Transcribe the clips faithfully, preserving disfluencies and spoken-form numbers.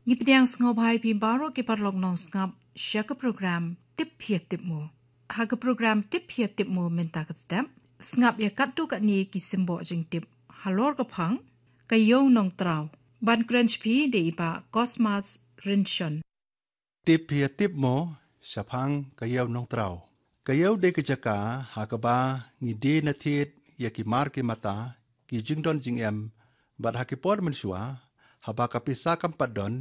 Ngi pdiang sngewbha ïa phi baroh ki paralok nongsngap sha ka program Tip Phi Tip Mo. Ha ka program Tip Phi Tip Mo mynta ka step, sngap ïa katto katne ki symboh jingtip halor ka phang Ka Ïew Nongtraw. Ban kren sha phi dei i Bah Cosmas Rynshon. Tip Phi Tip Mo shaphang Ka Ïew Nongtraw. Ka ïew dei ka jaka ha kaba ngi die na thied ïa ki mar ki mata, ki jingdon jingem, bad ha ki por mynshuwa, haba ka pisa kam pat don,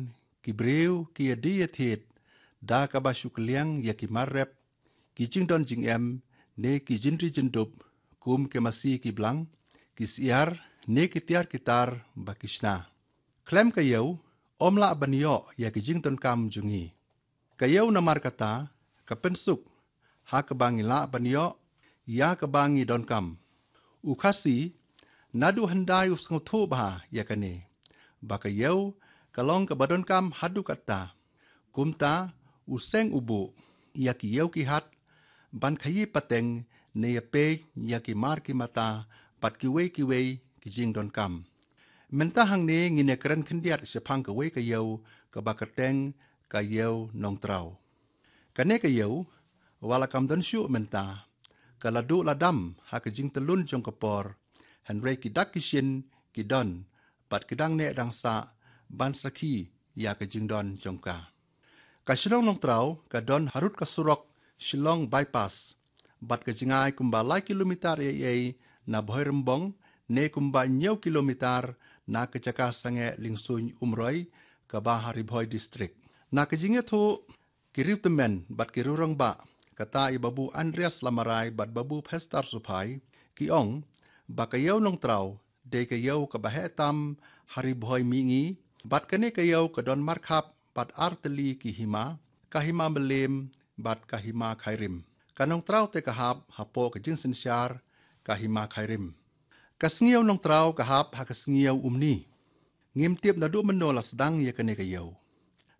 ki briew ki ïa die ïa thied da kaba shu kylliang ïa ki mar rep, ki jingdon jingem, ne ki jingri jingdup, kum ki masi ki blang, ki syiar, ne ki tiar ki tar ba ki shna. Khlem ka ïew, ym lah ban ïoh ïa ki jingdonkam jong ngi. Ka ïew namar kata ka pynsuk ha kaba ngi lah ban ïoh ïa kaba ngi donkam. U Khasi naduh hyndai u sngewthuh bha ïa kane, ba ka ïew ka long kaba donkam haduh katta. Kumta u seng u buh ïa ki ïew ki hat ban khaïi pateng ne ïa peit ïa ki mar ki mata bad kiwei kiwei ki jingdonkam. Mynta hangne ngin ïa kren khyndiat shaphang kawei ka ïew kaba kyrteng Ka Ïew Nongtraw. Kane ka ïew, wat la kam don shuh mynta, ka la duh la dam ha ka jingtyllun jong ka por, hynrei ki dak ki shin ki don, bad ki dang neh dang sah ban sakhi ïa ka jingdon jong ka. Ka shnong Nongtraw ka don harud ka surok Shillong Bypass, bad ka jngai kumba lai kilometer ei ei na Bhoirymbong, ne kumba hynñiew kilometer na ka jaka sangeh Lyngsuin Umroi, kaba ha Ri Bhoi District. Na ka jingïathuh ki riewtymmen bad ki riewrangbah, kata i Babu Andreas Lamarai bad Babu Phester Suphai, ki ong ba Ka Ïew Nongtraw dei ka ïew kaba heh tam ha Ri Bhoi mihngi, bad kane ka ïew ka don markhap bad ar tylli ki hima, ka Hima Mylliem bad ka Hima Khyrim. Ka Nongtraw te ka hap hapoh ka jingsynshar ka Hima Khyrim. Ka Sngi Ïew Nongtraw ka hap ha ka Sngi Ïew Umni. Ngim tip naduh mynno la sdang ïa kane ka ïew.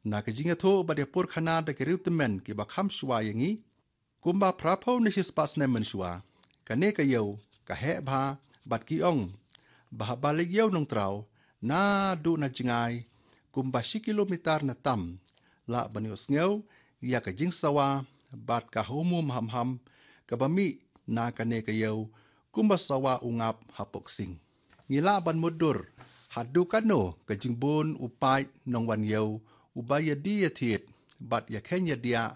Na ka jingïathuh bad ïa pur khana da ki riewtymmen kiba kham shuwa ïa ngi, kumba phra phew ne shispah snem mynshuwa, kane ka ïew ka heh bha, bad ki ong ba haba leit ïew Nongtraw naduh na jngai kumba shi kilometer na tam, lah ban ïohsngew ïa ka jingsawa bad ka humhum hamham kaba mih na kane ka ïew, kumba sawa u ngap hapoh ksing. Ngi lah ban mutdur haduh katno ka jingbun u paid nongwan ïew uba ïa die ïa thied bad ïa kheiñ ïa diah